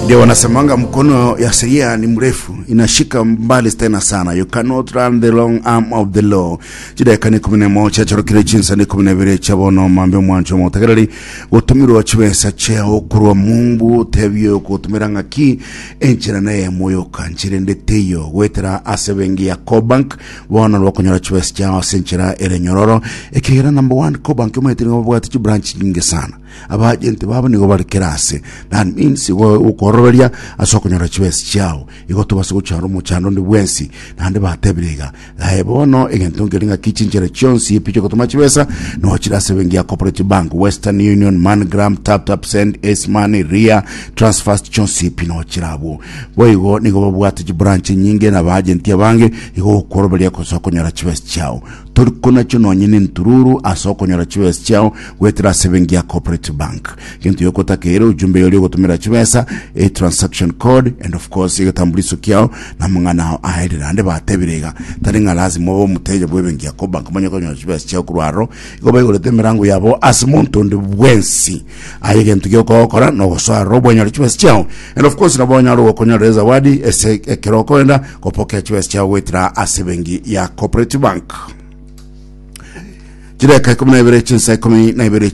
Ndio wanasemanga mkono ya sheria ni mrefu, inashika mbali tena sana. You cannot run the long arm of the law. Chidakika ni 11 chorokire chinsa ni 12 chabono mambe omwancho omotegereri gotumirwa chibesa chiao korwa mumbu tebio gotumira ng'aki enchera neyemo yoka nchera ende teiyo goetera ase bengi ya Cobank bono rwakonyora chibesa chiao ase enchera ere nyororo ekegera number one Cobank omanyete nigo babwate chibranch nyinge sana Abaagenti babo nigo bare kera ase. That means igo okoroberia ase okonyora chibesa chiao. Igo tobase gochara omochando onde bwensi. Naende batebire iga, Aye bono egento nkeri ng'aki chinchera chionsi epi chiogotoma chibesa nogo chire ase ebenki ya Cooperative Bank, Western Union, MoneyGram, TapTap Send, Ace Money, Ria, Transfast chionsi epi nogo chire abwo. Boigo nigo babwate chibranch enyinge na abaagenti abange igo okoroberia ase okonyora chibesa chiao. Tori konachio nonye nentururu ase okonyora chibesa chiao goetera ase ebenki ya Cooperative Bank. Gento yokotakeire ujumbe yoria ogotomera chibesa, e transaction code and of course egetambuliso kiao na amang'ana ao aerire. Naende batebire iga tari ng'a lazima obe omoteja bwa ebenki ya Cobank omanye konyora chibesa chiao korwa aroro. Igo baigorete emerango yabo ase monto onde bwensi. Aye egento giokogokora nogosoa aroro bwenyore chibesa chiao and of course nabo onyare gokonyorera ezawadi ase ekero okoenda gopokea chibesa chiao goetera ase ebenki ya Cooperative Bank. Chidakika 12 chinsa 12.